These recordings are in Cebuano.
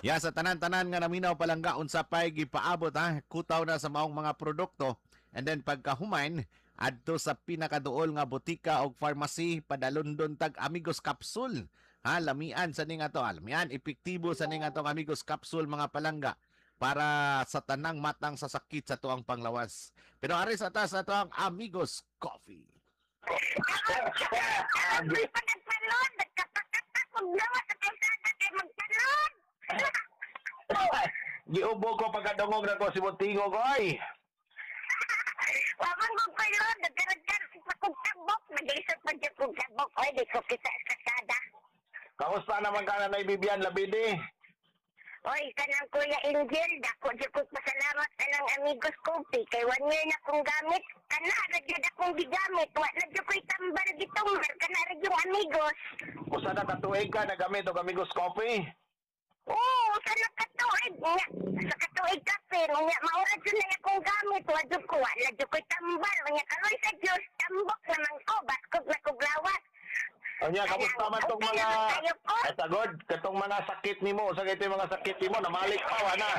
Ya, sa tanan-tanan nga naminaw, palangga, unsa pay gipaabot ha, kutaw na sa maong mga produkto and then pagkahuman adto sa pinakaduol nga botika og pharmacy, padalundon tag Amigos Capsule ha. Lamian sa ning ato, lamian epektibo sa ning atong Amigos Capsule, mga palangga, para sa tanang matang sa sakit sa tuang panglawas. Pero ari sa taas ato ang Amigos Coffee. Ako'y pa nagpalod, nagkapakatak, kung gawa sa kalsada kay magpalod. Giubo ko pagkadungog na ko si Buntingo ko ay. Wamang kong palod, nagkaragkar pa kong tabok, nag-isot pa dyan kong tabok, oy, di ko kita sa kalsada. Kamusta naman ka, Nanay Bibian Labidi? Oy, kanang Kuya Angel, dako dyan kong pasalamat kanang Amigos Coffee, kay 1 year na kong gamit, kana ra jud akong gigamit, wa na jud ko'y tambal gitumbar, kana ra yung Amigos. Usa na katuig ka nagamit og Amigos Coffee? Oo, sa nakatuig nga, sa katuig kape, nga maura jud na akong gamit, wa jud ko, wala jud ko'y tambal, nga karoy sa Diyos, tambok naman ko, baskog na kog lawas. Unya, kamusta man tong Okay mga naman kayo ko. Ay tagod, katong mga sakit nimo, usa kay mga sakit nimo namalik pa wa na?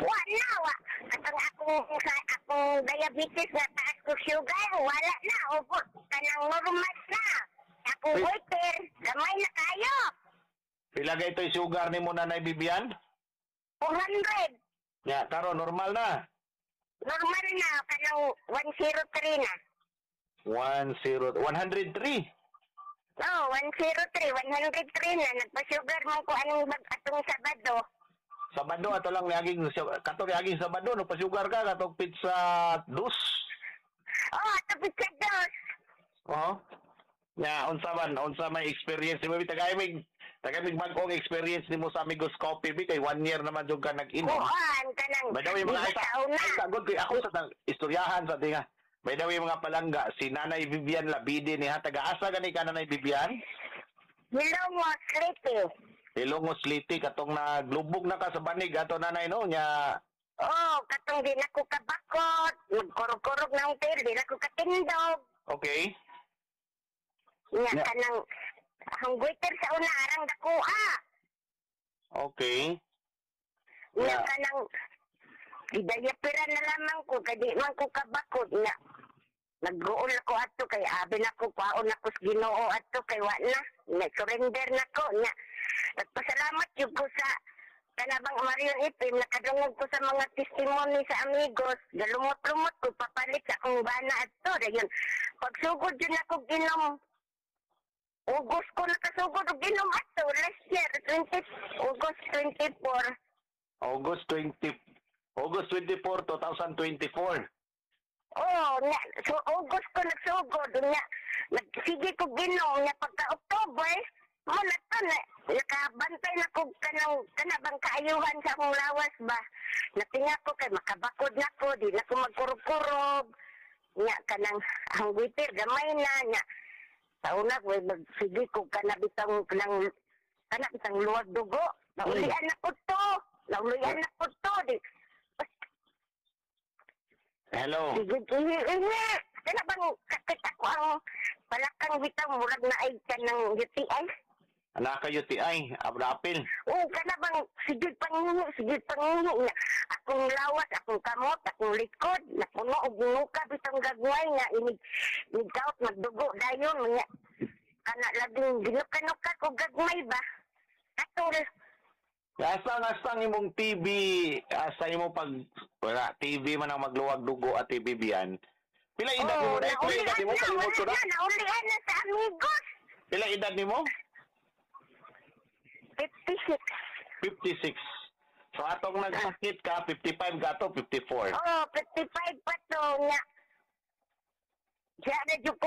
Wa na, wa. Katong akong, sa akong diabetes nga taas ko sugar, wala na, opo, kanang normal na. Akong Wait. goiter, gamay na kayo. Pila kay ito'y sugar nimo, Nanay Bibian? 400. Nya, karon normal na? Normal na, kanang 103 na. 10 103. No, 103, 103 na. Nagpa-sugar man ko anong bag atong Sabado. Sabado ato lang niaging kato niaging Sabado no pa-sugar ka katong pizza dus. Oh, ato pizza dos. Oo. Nya, unsa man, unsa may experience nimo? Tagay mig bag-ong experience nimo sa Amigos Coffee bi kay 1 year naman jud ka nag-inom. Kuan, kanang, By the way, mga di ba sa una? ay, sagod kay ako sa istoryahan sa tinga. By the way, mga palangga, si Nanay Vivian Labide ni ha, taga-asa gani ka, Nanay Vivian? Hilongos, Leyte. Hilongos, Leyte, katong naglubog na ka sa banig ato, Nanay, no? Nya, Oh, katong di na ko kabakot, magkurog-kurog na ang tiil, di na ko katindog. Nya kanang ang goiter sa una arang dakuha. Nya kanang gidayapira na lamang ko kay di man ko kabakot nya. Nagguol ako ato kay abi na ko kwaon ako sa Ginoo ato kay wa na. Nag-surrender na ko nya. Nagpasalamat jud ko sa kanabang Marion Ipim, nakadungog ko sa mga testimony sa Amigos, galumot-lumot ko papalit sa akong bana ato. Dayon pagsugod jud ako ginom, August ko nakasugod og ginom ato last year, 20 August 24. August 20 August 24, 2024. Oh, nya, so August ko nagsugod nya. Nagsige ko ginom nya pagka October, mo na to na nakabantay na ko kanang kanabang kaayuhan sa akong lawas ba. Natinga ko kay makabakod na ko, di na ko magkurog-kurog. Nya kanang ang goiter gamay na nya. Sa una ko magsige ko kanabitang kanang kanabitang luwag dugo. Naulian na ko to. Naulian na ko to. Di, Hello. Sige, ihi, ihi. Kana bang sakit ako ang palakang bitaw murag na ay ka ng UTI? Anak ka UTI, abrapil. Oo, kana bang sige pangihi, sige pangihi nga. Akong lawas, akong kamot, akong likod, napuno og nuka bitong gagway nga inig inig magdugo dayon nga. Kana laging ginuka-nuka ko gagmay ba? Katul. Asa nga sa imong TV, asa imo pag wala TV man ang magluwag dugo at TV biyan. Pila edad nimo na? Pila edad nimo? naulian na, Kalimot ko wala na. na, naulian na sa Amigos. Pila edad nimo? 56. 56. So atong nagsakit ka 55 ka to 54. Oh, 55 pa to nga. Diya na jud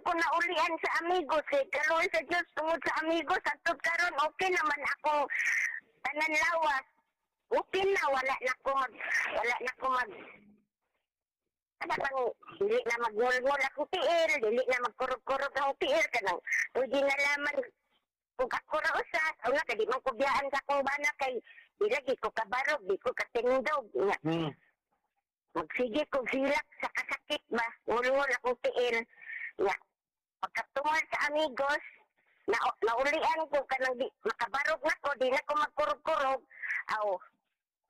ko na ulian sa Amigos kay kaluoy sa Dios tungod sa Amigos atud karon okay naman ako tanan lawas. Okay na, wala na ko mag ano bang dili na magngulngul akong tiil, dili na magkurog-kurog akong tiil kanang pwede na laman kung ako ra usa, una kay di man ko biyaan sa akong bana kay di lagi ko kabarog, di ko katindog nga magsige kog hilak sa kasakit ba, ngulngul akong tiil. Nga, pagkatumal sa Amigos, Na, naulian ko kanang di, makabarog na ko, di na ko magkurog-kurog. Aw,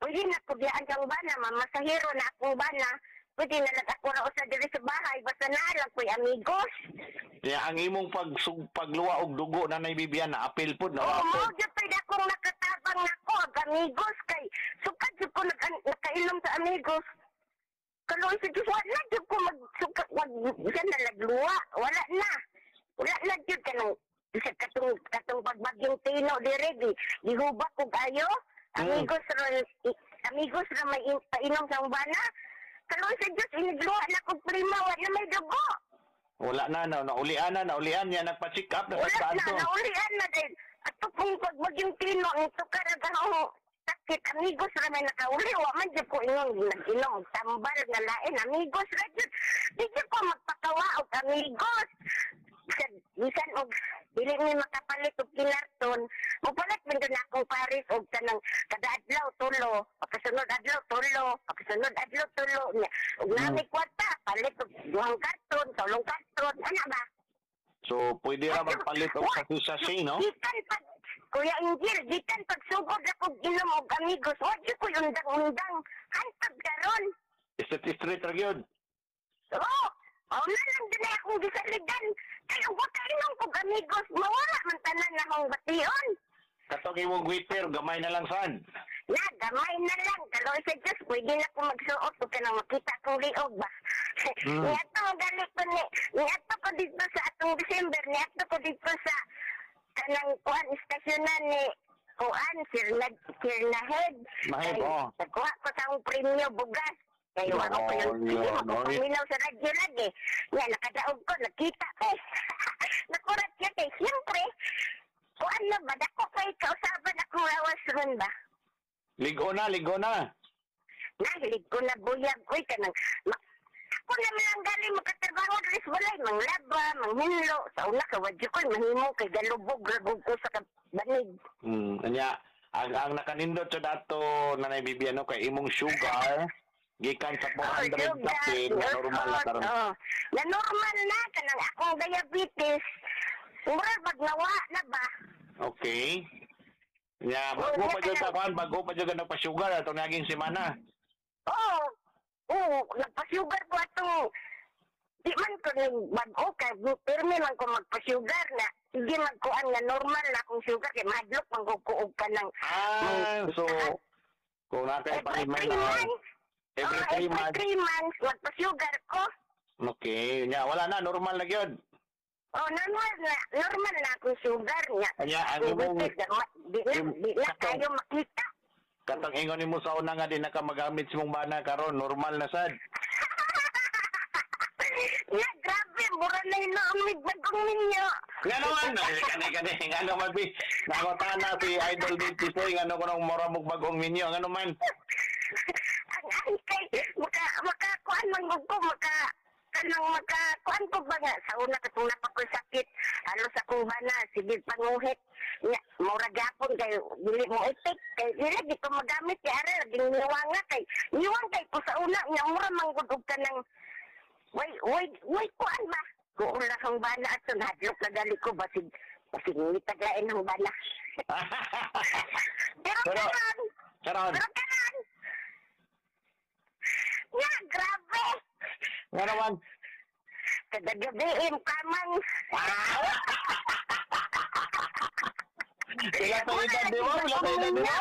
pwede na ko biyaan kang bana, mamasahero na akong bana. Pwede na lang ako ra usa diri sa bahay, basta naa lang ko'y amigos. Ya, ang imong pagluwa og dugo, Nanay Bibian, na apil pud na Oo, apil. mao gyud pwede akong nakatabang nako ang amigos kay sukad jud ko nakainom sa amigos. Kaluoy sa Diyos, wala jud ko magsuka, wag siya na nagluwa, wala na. Wala na jud kanang sa katong pagbagyong Tino dire di gihubak og ayo. Amigos ra amigos ra may painom sa bana. Kaluoy sa Diyos, inigluwa na kog prima, wala may dugo. Wala na, na naulian na, naulian niya, nagpa-check up na Wala sa na, kanto. naulian na din. At kung pagbagyong Tino, ang tukar ang sakit, amigos ra may nakauli, wa man jud ko ingon nag-inom og tambal nga lain, amigos ra jud. Di jud ko magpakawa og amigos. Bisan og dili mi makapalit og kinarton, mopalit man jud na akong pares og kanang kada adlaw tulo, pagkasunod adlaw tulo, pagkasunod adlaw tulo nya. Og nami kwarta, palit og duhang karton, tulong karton, ana ba? So, pwede ra magpalit og sachet, no? Gikan pag Kuya Angel, gikan pagsugod ako inom og amigos, wa jud ko'y undang-undang. Hantod karon. Street street ra gyud. Oo, mao na lang din ay akong gisaligan. Kay ug wa kainom kog amigos, mawala man tanan na akong bation. Katong imong waiter, gamay na lang sad. Na, gamay na lang. Kaloy sa Diyos, pwede na ko magsuot ug kanang makita kong liog ba. Niadto galit ko ni, niadto ko dito sa atong December, niadto ko dito sa kanang kuan istasyonan ni kuan Sir Sir Nahed. Nahed, Kay, oo. nagkuha ko sa akong premyo bugas. Kay wa ko yung Yun, sige oy. mapaminaw sa radyo lagi. Nga nakadaog ko, nakita ko. Nakurat siya kay siyempre. Kuan na ba, dako kay kausaban akong lawas ron ba? Ligo na, ligo na. Nahilig ko na buyag, uy, kanang, ako naman lang galing makatrabaho diri sa balay, manglaba, manghinlo. Sa una ka, wadyo ko, mahimo kay galubog, ragog ko sa banig. Anya, ang nakanindot sa dato, Nanay Bibian, no, kay imong sugar gikan sa 400 kapin, na normal na karon. Oh, na normal na, kanang akong diabetes, mura pag nawa na ba? Okay. Nya, bago Oo, pa jud kanang- ka kuan, bago pa jud ka nagpa-sugar atong naging semana. Oo, oo, nagpa-sugar ko atong, di man ko ning bag-o kay pirmi man ko magpa-sugar na, sige magkuan nga normal na akong sugar kay mahadlok man ko og kanang Ah, so kung na kay every paniman 3 na months, every oh, 3 every months. 3 months magpa-sugar ko. Okay, nya wala na, normal na gyud. Oh, normal na, normal na akong sugar niya. Anya ang imong Di na, di na kayo makita. Katong ingon nimo sa una nga di na ka magamit sa imong bana karon, normal na sad. Na, grabe, mura na hinuumig bagong ninyo. Nga naman, ay, kani kani nga naman bi. Nakotana si Idol Dave Tisoy ngano kuno mura mog bagong minyo, ngano man. Ang kay, maka, kuan man gud ko, maka, kanang maka, kuan ko ba nga, sa una katong napakoy sakit, halos akong bana, sige panguhit, nga, mura gapon kay, dili mo itik, kay, dili, di ko magamit, kay ara, laging niwang nga, kay, niwang kay ko sa una, nga, mura man gud og kanang, way, way, way, kuan ba? Kuula kang bana at hadlok na gali ko, basig, basig, nitaglain ang bana. Pero, karon, Karon, pero karon, nga, grabe! nga naman. Kada gabi, kamang. Pila pa edad di mo? Pila pa edad di mo?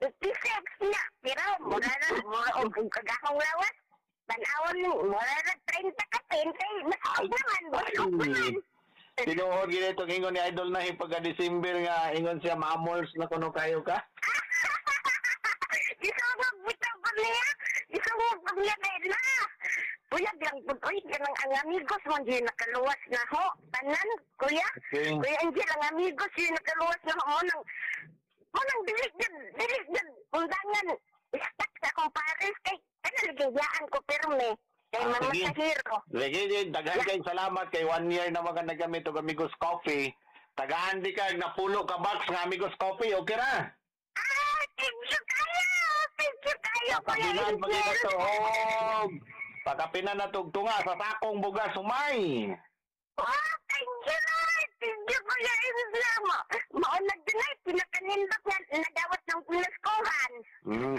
56 na. Pero, mura na, mura, og kagakong lawas. Tanawon, mura na 30 ka, 20. Masakit naman, busog naman. Tinuod gid itong ingon ni Idol na pagka December nga ingon siya maamols na kuno kayo ka. Gisugod bitaw ko niya. Gisugod ko niya kay na. Buyag lang po, uy, kanang ang amigos mo, di nakaluwas na ho. Tanan, kuya. Okay. Kuya Angel, ang amigos yun nakaluwas na ho. Mo nang dili jud, undangan, stuck sa akong pares. Kay, ano, ligayaan ko pirme. Kay Ah, Mama sige. Sahiro. Sige, sige, daghan kayong salamat kay one year na mga nagamit og Amigos Coffee. Tagaan di ka napulo ka box nga Amigos Coffee, okay ra? Ah, thank you kayo! Thank you kayo, Kuya Pakapinan pag Angel! ito og pakapinan na tugtunga sa sakong bugas humay. Oh, thank you, Lord! Thank you. na mo. Maunag din ay pinakanindot nga nadawat ng pinaskuhan.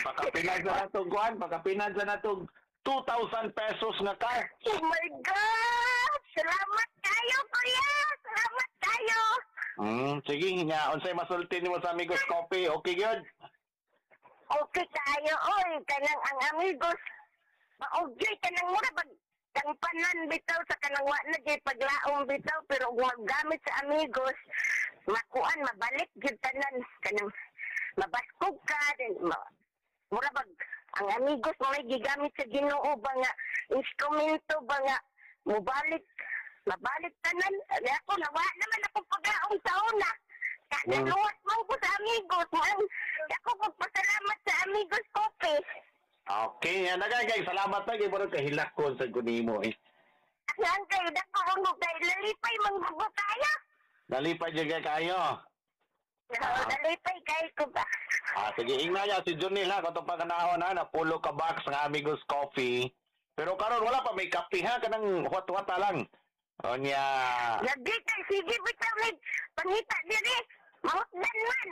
Pakapinag na natong kuan, pakapinag na natong 2,000 pesos nga cash. Oh my God! Salamat kayo, kuya! Salamat kayo! Sige nga, unsay masulti nimo sa Amigos Coffee? Okay gyud. Okay kayo, oy! Kanang ang Amigos, maugyoy kanang mura pag kang panan bitaw sa kanang wa na gyud paglaom bitaw, pero kung maggamit sa Amigos, makuan, mabalik gyud tanan, kanang mabaskog ka then mura bag ang Amigos mo may gigamit sa Ginoo ba nga instrumento ba nga mubalik, mabalik tanan. Ay, ako nawa naman ako paglaom sa una. Naluwas man ko sa Amigos mo ang ako pagpasalamat sa Amigos Coffee. Okay, yan na kay salamat na kay murag kahilak ko sa kunimo eh. Ang kayo dako ang kay lalipay manggugo kayo. Nalipay jud kay kayo. Nalipay kayo ko ba? Ah, sige, ingna niya si Junil ha, katong panganahon ha, napulo ka box ng Amigos Coffee. Pero karon wala pa may kape ha, kanang huwat-huwata lang. O niya, Lagi kay sige bitaw mig pangita diri. Mahutdan man.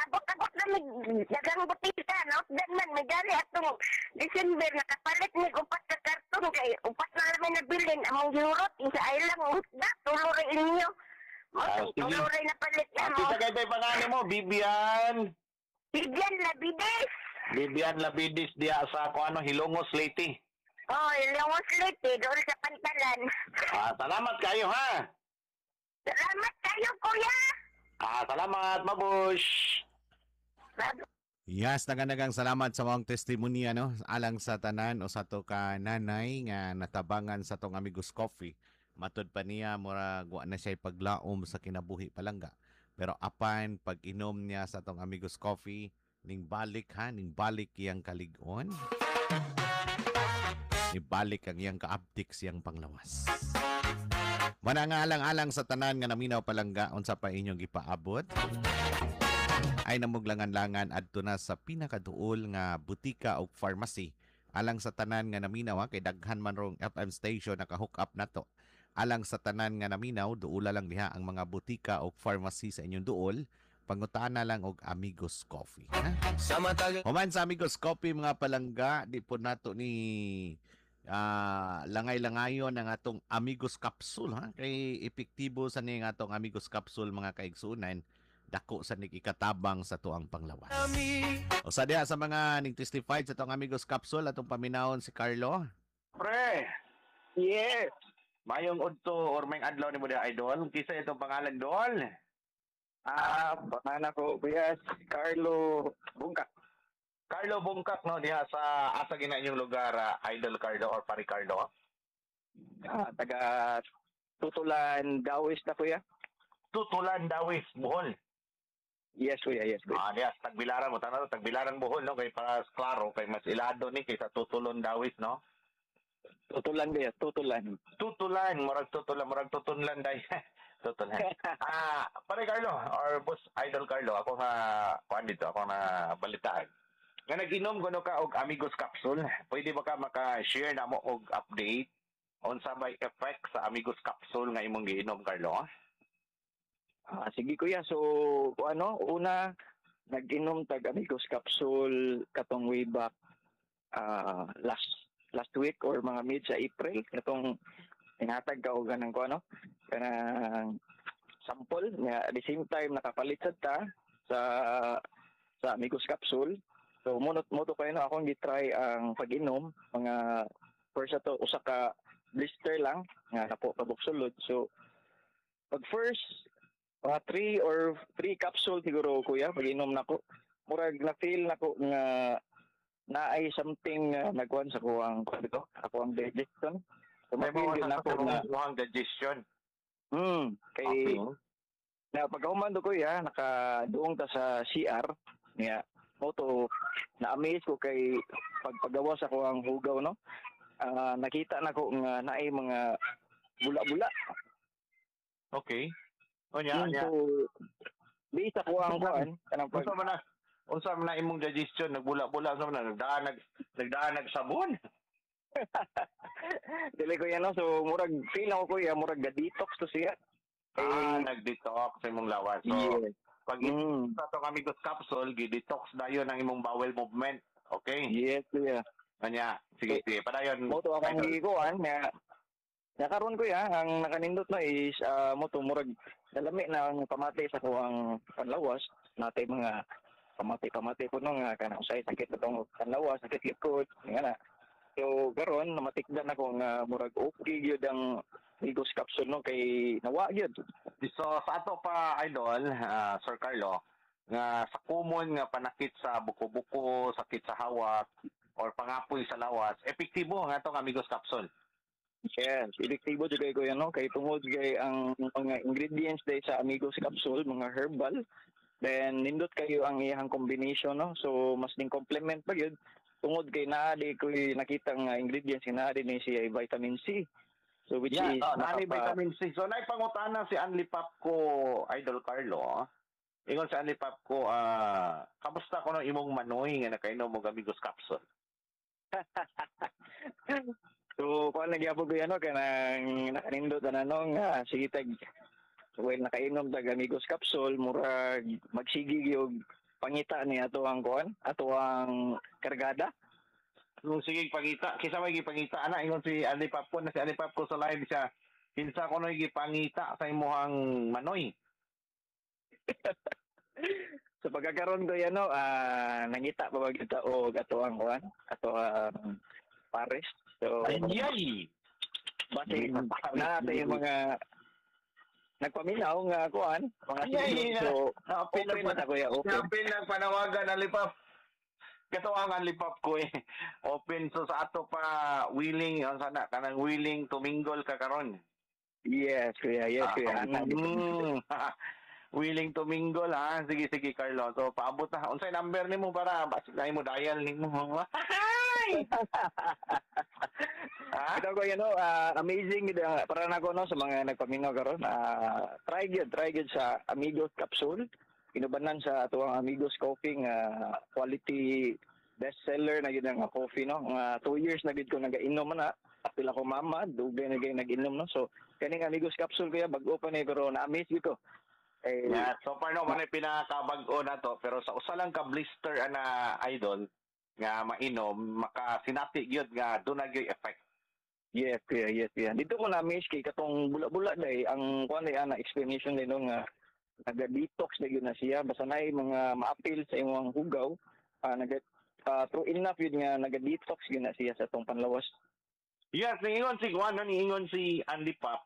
Abot-abot na mig dagang butika, nahutdan man may gali atong December nakapalit mig upat ka karton kay upat na lang may nabilin among giurot isa ay lang hutda tulo ra inyo. Mo Ah, sige. tulo ra napalit na mo. Kita kay tay pangalan mo, Bibian. Bibian Labides. Bibian Labidis diya sa ko ano, Hilongos, Leyte. Oh, Ilongos Leyte, doon sa pantalan. Ah, salamat kayo ha. Salamat kayo, kuya. Ah, salamat, mabush. Bye. Yes, naganagang salamat sa mga testimonya no, alang sa tanan o sa to ka nanay nga natabangan sa tong Amigos Coffee. Matud pa niya murag wa na siya paglaom sa kinabuhi palangga. Pero apan pag-inom niya sa tong Amigos Coffee, ning balik ha, ning balik iyang kalig-on. Ibalik ang iyang kaabdik siyang panglawas. Mana nga alang-alang sa tanan nga naminaw palangga unsa pa inyong gipaabot ay namuglangan-langan adto na sa pinakaduol nga butika o pharmacy alang sa tanan nga naminaw ha, kay daghan man rong FM station naka-hook up nato. Alang sa tanan nga naminaw, duola lang diha ang mga butika o pharmacy sa inyong duol. Pangutana lang og Amigos Coffee. Ha? Human sa Amigos Coffee mga palangga, di po nato ni langay-langayon ang atong Amigos Capsule ha, kay epektibo sa ni atong Amigos Capsule mga kaigsunan, dako sa nig ikatabang sa tuang panglawas. O sa diha sa mga ning testified sa atong Amigos Capsule, atong paminawon si Carlo. Pre, Yes. mayong udto or may adlaw nimo diha, idol. Kisa itong pangalan dol? Ah, pangalan ko kuya si Carlo Bungkak. Carlo Bungkak no, diha sa asa gina inyong lugar, Idol Carlo or Pari Carlo? Ah, taga Tutulan, Dawis na kuya. Tutulan, Dawis, Bohol. Yes kuya, yes kuya. Ah, diha sa Tagbilaran mo tanaw, Tagbilaran Bohol no, kay para klaro kay mas ilado ni kaysa Tutulon Dawis no. Tutulan kuya, Tutulan. Tutulan, murag tutulan, murag tutunlan day. Tutulan. Ah, Pare Carlo or Boss Idol Carlo, ako nga kuan dito, ako na balitaan. Nga nag-inom kuno ka og Amigos Capsule, pwede ba ka maka-share na mo og update unsa may effect sa Amigos Capsule nga imong giinom, Carlo? Ah, sige kuya, so kung ano, una nag-inom tag Amigos Capsule katong way back last last week or mga mid sa April katong tinatag ka og ganang ko ano kanang sample nga at the same time nakapalit sad ta sa Amigos Capsule. So munot mo to kayo no, akong gi-try ang pag-inom mga first ato usa ka blister lang nga napo kabuk sulod. So pag first mga 3 or 3 capsule siguro kuya pag-inom nako, murag na feel nako nga naay something nagkuan sa kuang kuan dito, ako ang digestion. So May ma-feel mga yun nako na sa digestion. Kay na pagkahuman do kuya nakaduong ta sa CR niya mo to na-amaze ko kay pagpagawas ako ang hugaw no. Nakita nako nga naay mga bula-bula. Okay. Unya, unya. So based ako ang kuan kanang pag Unsa man na imong digestion nagbula-bula, unsa man na nagdaan sabon? Dili ko yan no. So murag feel ako kuya murag ga detox to siya. Ah, Eh, nag-detox sa imong lawas. So, yes. Pag sa atong Amigos capsule, gi-detox dayon ang imong bowel movement. Okay? Yes, kuya. Kanya, sige, sige. Padayon. Mo to akong Idol. gikuan nga nakaron, kuya, ang nakanindot na is mo to murag nalami na ang pamati sa kuang panlawas natay, mga pamati-pamati ko no nga kanang usay sakit atong panlawas, sakit likod nga na. So karon namatikdan ako nga murag okay gyud ang Amigos capsule no, kay nawa gyud. So, sa ato pa, Idol, Sir Carlo, nga sa common nga panakit sa buko-buko, sakit sa hawak, or pangapoy sa lawas, epektibo ang atong Amigos capsule. Yes, epektibo jud kay, kuya, no, kay tungod kay ang mga ingredients day sa Amigos capsule mga herbal, then nindot kayo ang iyang combination no. So mas ning complement pa gyud tungod kay naa di ko'y nakita nga ingredients nga naa din ni siya ay vitamin C. So which is Oh, naani vitamin C. So, naipangutana si Anli Pap ko, Idol Carlo, ah. Ingon si Anli Pap ko, kamusta ko no imong manoy nga nakainom og Amigos capsule? So kuan lagi gyapon, kuya, no, kanang nakanindot na no nga sige tag well nakainom tag Amigos capsule, murag magsige gyud pangita ni ato ang kuan, ato ang kargada. Kung sige pangita, kinsa may gipangita ana? Ingon si Anli Pap ko na si Anli Pap ko sa live siya. Kinsa ko no gipangita sa imong manoy? So pagkakaroon ko yan no, nangita pa ba kita og ato ang kuan, ato ang pares. So Ay! Base na yung mga nagpaminaw nga kuan, mga Ay, ay, single. So Open open na ta, kuya, open. Open lang panawagan Anli Pap. Kato ang Anli Pap ko eh. Open, so sa ato pa willing ang sana kanang willing to mingle ka karon. Yes, kuya, yes, kuya. Ana, Willing to mingle ha. Sige, sige, Carlo. So paabot na. Unsay number nimo para basig na mo dial nimo? Ha? Ito ko yun, no, amazing gid para nako no sa mga nagpaminaw karon. Try gyud sa Amigos capsule. Inubanan sa atuang Amigos Coffee nga quality bestseller na gyud ang coffee no. Nga 2 years na gyud ko nagainom na. Apil ako mama, dugay na gyud nag-inom no. So kaning Amigos capsule, kuya, bag-o pa ni pero na-amaze gyud ko. Eh, Yeah, so far no man pinakabag-o na to, pero sa usa lang ka blister ana, Idol, nga mainom makasinati gyud nga duna gyud effect. Yes, kuya, yes, kuya. Dito ko na-amaze kay katong bula-bula day, ang kuan day ana explanation day no nga naga-detox na gyud na siya basta naay mga maapil sa imong hugaw, naga true enough yun nga naga-detox gyud na siya sa atong panlawas. Yes, niingon si Juan, no, niingon si Andy Pap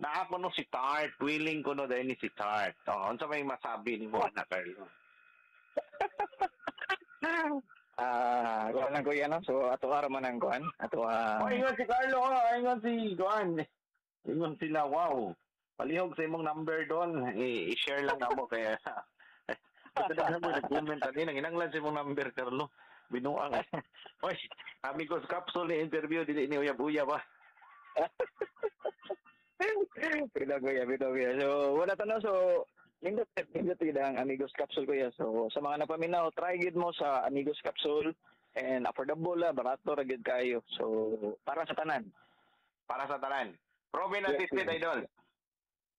na ako no si Tart, willing ko no dahil ni si Tart. Oh, unsa may masabi nimo ana, Carlo? Kuan lang, kuya, no. So ato ara man ang kuan, ato Oh, ingon si Carlo, oh, ingon si Juan. Ingon sila, wow. Palihog sa imong number doon. I-share lang namo kaya. Ito na mo nag-comment ani nang inanglan sa imong number, Carlo. Binuang. Oy, Amigos capsule ni interview, dili ni uyab-uyab ah. Bitaw, kuya, bitaw, kuya. So wala ta no, so nindot nindot gyud ang Amigos capsule, kuya. So sa mga napaminaw, try gyud mo sa Amigos capsule and affordable la, barato ra gyud kayo. So para sa tanan. Para sa tanan. Proven and Yes, tested, kuya. Idol.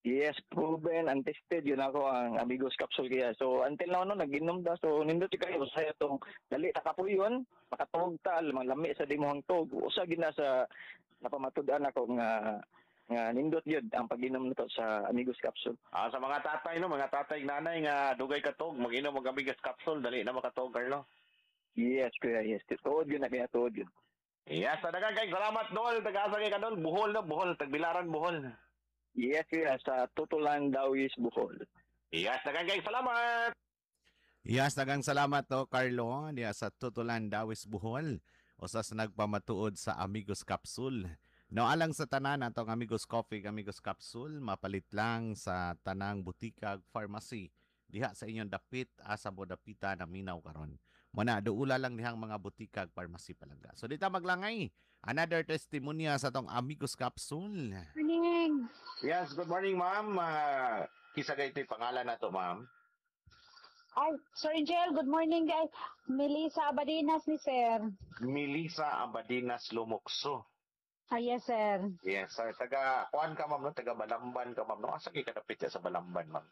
Yes, proven and tested yun ako ang Amigos capsule kaya. So until now no nag-inom da, so nindot kayo sa itong dali ta kapuyon, makatuog ta, lami sa dimuhang tog. Usa gid na sa napamatud-an ako nga nga nindot yun ang pag-inom nito sa Amigos capsule. Ah, sa mga tatay no, mga tatay nanay nga dugay katog, mag-inom og Amigos capsule, dali na makatog, Carlo. Yes, kuya, yes. Tuod yun na kaya, tuod yun. Yes, sa daghang kay salamat, Dol. Taga-asa kay ka, Dol? Bohol no, Bohol, Tagbilaran, Bohol. Yes, kuya, sa Tutulan, Dawis, Bohol. Yes, daghang kay salamat. Yes, daghang salamat to Carlo diya sa Tutulan, Dawis, Bohol. Usa sa nagpamatuod sa Amigos Capsule. No, alang sa tanan atong Amigos Coffee, Amigos Capsule, mapalit lang sa tanang butika, pharmacy diha sa inyong dapit, asa mo dapita na minaw karon. Muna duula lang dihang mga butika, pharmacy, palangga. So dita maglangay. Another testimonya sa atong Amigos Capsule. Morning. Yes, good morning, ma'am. Kinsa kay ito'y pangalan nato, ma'am? Ay, Sir Angel, good morning guys. Melissa Abadinas ni Sir. Melissa Abadinas Lumokso. Ah, yes, sir. Yes, sir. Taga kuan ka, ma'am, no? Taga Balamban ka, ma'am, no? Asa kay kadapit sa Balamban, ma'am?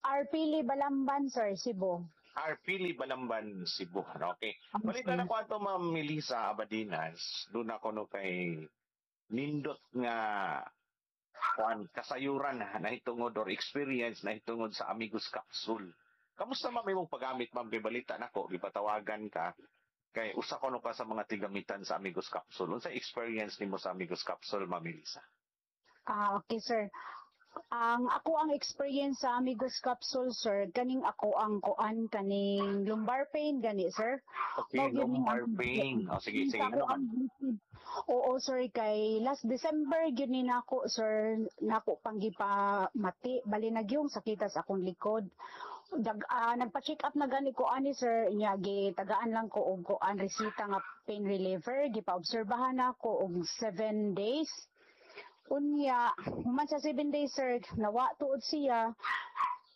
Arpili Balamban, sir, Cebu. Arpili Balamban, Cebu. Okay. Balita na ko ato, Ma'am Melissa Abadinas, doon ako no kay nindot nga kuan kasayuran nahitungod or experience nahitungod sa Amigos Capsule. Kamusta, ma'am, imong paggamit, ma'am, kay balita nako gipatawagan ka kay usa ko no ka sa mga tigamitan sa Amigos Capsule. Unsa experience nimo sa Amigos Capsule, Ma'am Melissa? Ah, okay, sir. Ang ako ang experience sa Amigos Capsule, sir, kaning ako ang kuan kaning lumbar pain gani, sir. Okay, Mao gyud ni lumbar pain. O sige, sige, Ako ano man. ang Oo, sir, kay last December gyud ni nako, sir, nako pang gipamati bali nagyong sakita sa akong likod. Nagpa-check up na gani ko ani, sir, nya gitagaan lang ko og kuan resita nga pain reliever, gipa-obserbahan nako og 7 days. Unya, human sa 7 days, sir, nawa tuod siya.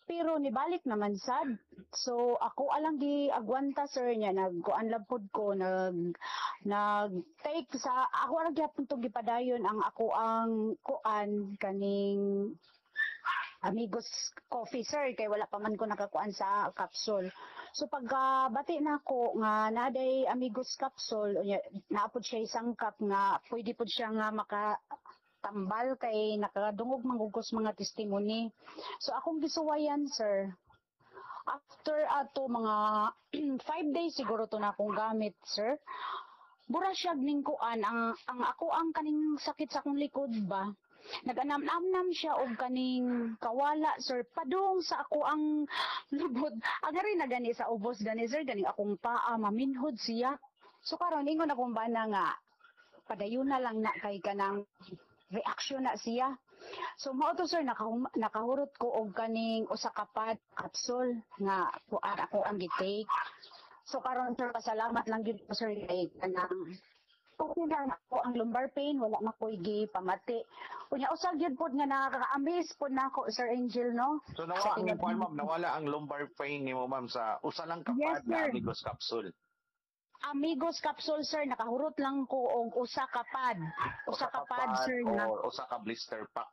Pero nibalik naman sad. So ako alang gi agwanta, sir, niya nagkuan lang pud ko, nag nag take sa ako ra gyapon tong gipadayon ang ako ang kuan kaning Amigos coffee, sir, kay wala pa man ko nakakuan sa capsule. So pagka bati na ako nga naday Amigos capsule, unya naapod siya isang cup nga pwede pud siya nga maka tambal kay nakadungog manggugos mga testimony. So akong gisuwayan, sir. After ato mga 5 days siguro to na akong gamit, sir. Bura siya ning kuan ang ako ang kaning sakit sa akong likod ba. Naganam-namnam siya og kaning kawala, sir, padung sa ako ang lubot. Ang rin na gani sa ubos gani, sir, ganing akong paa maminhod siya. So karon ingon akong bana nga padayon na lang na kay kanang reaction na siya. So mao to, sir, nakahurot ko og kaning usa ka pad capsule nga kuan ako ang gi-take. So karon, sir, pasalamat lang gyud ko, sir, kay kanang okay na ako ang lumbar pain, wala na ko'y gipamati. Unya usa gyud pod nga nakaka-amaze pod nako, Sir Angel, no. So nawa ang kuan, ma'am, nawala ang lumbar pain nimo, ma'am, sa usa lang ka Yes, pad na sir. Amigos Capsule. Amigos capsule, sir, nakahurot lang ko og usa ka pad. Usa ka pad, sir, nga. Or usa ka blister pack.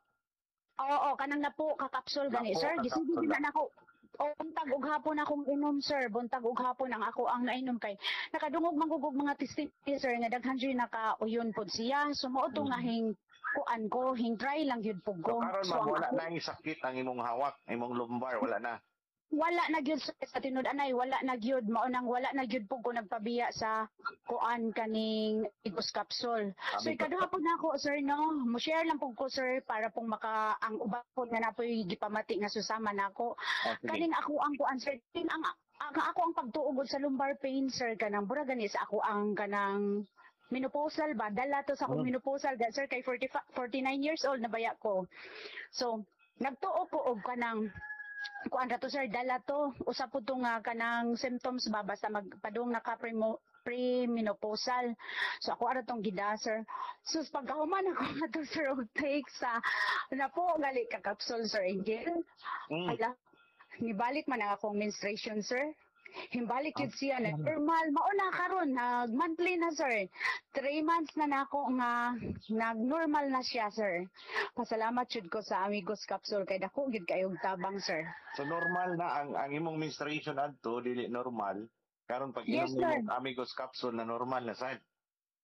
Oo, kanang napo ka capsule gani, Napo sir. ka Gisigi capsule. na nako. O, buntag ug hapon akong inom, sir. Buntag ug hapon ang ako ang nainom kay nakadungog manggugog mga testimony, sir, nga daghan jud nakauyon pod siya. So mao to nga hing kuan ko, hing try lang gyud pug So ko. karon, So, ma'am, ang wala ako- na ang sakit ang imong hawak, imong lumbar, wala na. Wala na gyud, sir, sa tinud anay wala na gyud. Mao nang wala na gyud pug ko nagpabiya sa kuan kaning Amigos capsule. So Amigos. ikaduha po na ako, sir, no. Mo share lang pug ko, sir, para pong maka ang uban po nga napoy gipamati nga susama nako. Oh, sige. Kaning ako ang kuan, sir, kaning ang ako ang pagtuog sa lumbar pain, sir, kanang bura gani sa ako ang kanang menopausal ba, dala to sa akong menopausal ga, sir, kay 40, 49 years old na baya ko. So nagtuo ko og kanang kuan ra to, sir, dala to usa po to nga kanang symptoms ba basta magpadung naka premenopausal. So ako ara tong gida, sir. Sus, pagkahuman ako nga to, sir, og take sa napo gali ka capsule, Sir Angel, ala, nibalik man ang akong menstruation, sir. Himbalik yun siya na normal. Mao na karon nag monthly na, sir. 3 months na nako nga nag-normal na siya, sir. Pasalamat jud ko sa Amigos Capsule kay dako gyud kayong tabang, sir. So normal na ang imong menstruation adto dili normal. Karon pag inom Yes, sir. nimo Amigos capsule na normal na sad.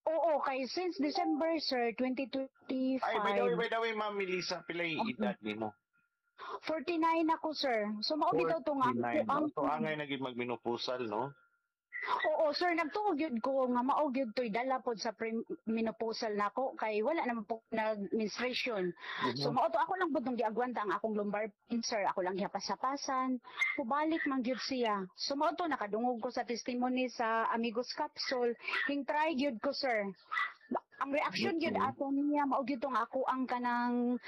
Oo, kay since December, sir, 2025. Ay, by the way, Ma'am Melissa, pilay edad nimo? 49 ako, sir. So mao bitaw to nga 49. ang So angay na gid magmenopausal, no? Oo, sir, nagtuo gyud ko nga mao gyud to'y dala pod sa menopausal nako kay wala naman po nag-menstruation. So mao to ako lang pud nung giagwanta ang akong lumbar pain, sir. Ako lang gihapas-hapasan. Pubalik man gyud siya. So mao to nakadungog ko sa testimony sa Amigos Capsule. Hing try gyud ko, sir. Ang reaction gyud ato niya mao gyud tong ako ang kanang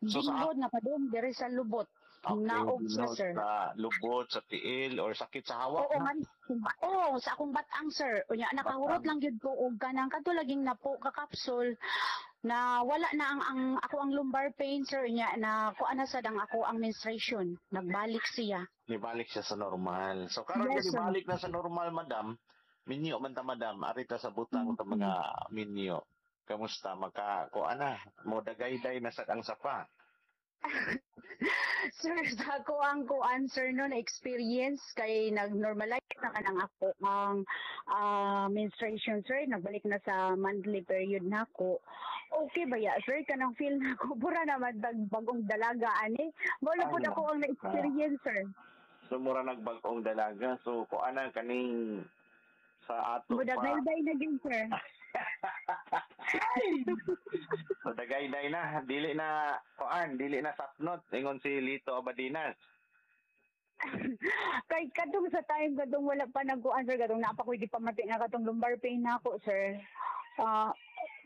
So, binhod nga padung diri sa lubot. Naog siya, Binhod sir. sa lubot, sa tiil, or sakit sa hawak. Oo, na? man. Oo, sa akong batang, sir. Unya, nakahurot Batang. lang gyud ko og kanang kadto laging napo ka capsule na wala na ang ako ang lumbar pain, sir, unya na kuan na sad ang ako ang menstruation. Nagbalik siya. Nibalik siya sa normal. So karon Yes, yes, sir. nibalik na sa normal, madam. Minyo man ta, madam, arita sa butang sa mga minyo. Kamusta maka kuan na mo dagayday na sad ang sapa? Sir, sa ako ang kuan, sir, no, na experience kay nag-normalize na kanang ako ang menstruation, sir, nagbalik na sa monthly period na ako. Okay ba ya, sir, kanang feel na ako pura naman bagong dalaga ani. Mao na pud ako ang na-experience, sir. So mura nagbag-ong dalaga. So kuan na kaning sa ato pa. Mudagayday na gyud, sir. So dagayday na, dili na kuan, dili na sapnot ingon si Lito Abadinas. Kay kadtong sa time kadtong wala pa nagkuan, sir, kadtong naa pa ko'y gipamati nga katong lumbar pain nako, sir.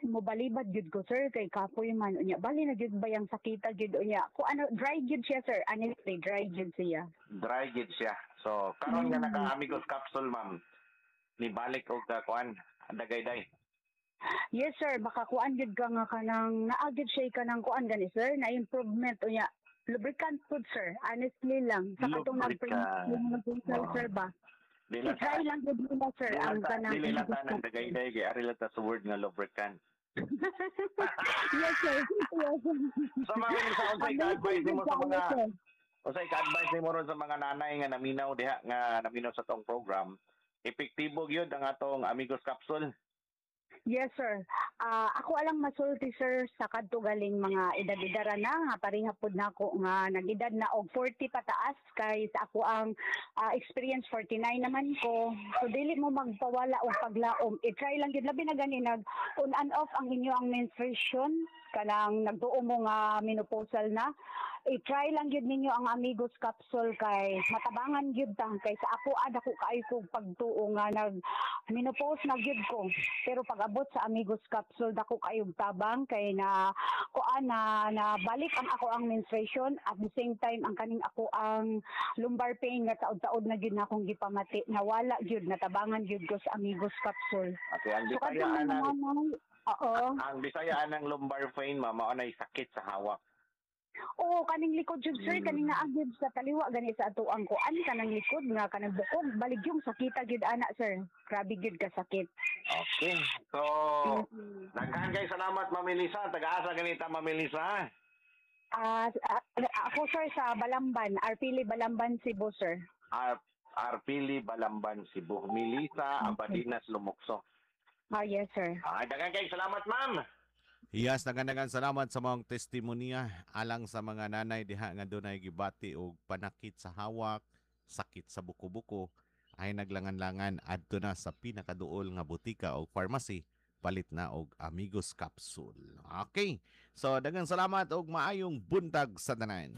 Mobalibad gyud ko, sir, kay kapoy man unya. Bali na gyud ba yang sakita gyud unya. Ko ano, dry gyud siya, sir. Honestly, dry gyud siya. Dry gyud siya. So karon nga naka Amigos capsule, ma'am, ni balik og kuan, dagayday. Yes, sir, makakuan gyud ka nga kanang naa gyud siya kanang kuan gani, sir, na improvement unya. Lubricant food, sir. Honestly lang. Sa katong Lubricant. nag sir ba? Dili lang I-try lang gyud nila, sir, dili ang lang ta, kanang dili lang ta nang dagayday kay ari lang ta sa word nga lubricant. Yes, sir. Yes. So ma'am, sa unsay Amazing ka-advise nimo sa gyud mga kaayo, sir. unsay ka-advise nimo ron sa mga nanay nga naminaw diha, nga naminaw sa tong program? Epektibo gyud ang atong Amigos capsule? Yes, sir. Ako alang masulti, sir, sa kadto galing mga edad-edara na nga pareha pud nako nga nag-edad na og 40 pataas kay sa ako ang experience 49 naman ko. So dili mo magpawala og paglaom. I-try lang gyud, labi na gani nag on and off ang inyo ang menstruation, kanang nagtuo mo nga menopausal na. I-try lang gyud ninyo ang Amigos capsule kay matabangan gyud ta, kay sa ako ada ko kaayo kog pagtuo nga nag menopause na gyud ko. Pero pag abot sa Amigos capsule, dako kayog tabang kay na kuan na, na balik ang ako ang menstruation, at the same time ang kaning ako ang lumbar pain nga taod-taod na gyud na akong gipamati, nawala gyud, natabangan gyud ko sa Amigos capsule. Okay, ang So Bisaya kadtong mga anang nanay, oo. Ang Bisaya anang lumbar pain, ma'am, mao nay sakit sa hawak. Oo, kaning likod jud, sir, kaning naa gyud sa taliwa gani sa atuang kuan, kanang likod nga kanang bukog, balig yung sakita gyud ana, sir. Grabe gyud ka sakit. Okay. So, daghan kay salamat, Ma'am Elisa. Taga-asa ganita, Ma'am Elisa? Ako, sir, sa Balamban, Arpili Balamban, Cebu, sir. Arpili Balamban, Cebu. Melissa Abadinas Lumokso. Yes, sir. Daghan kay salamat, ma'am. Yes, daghan salamat sa mga testimonya alang sa mga nanay diha nga dunay gibati og panakit sa hawak, sakit sa buko-buko, ay naglangan-langan adto na sa pinakaduol nga botika o pharmacy, palit na og Amigos capsule. Okay. So daghan salamat og maayong buntag sa tanan.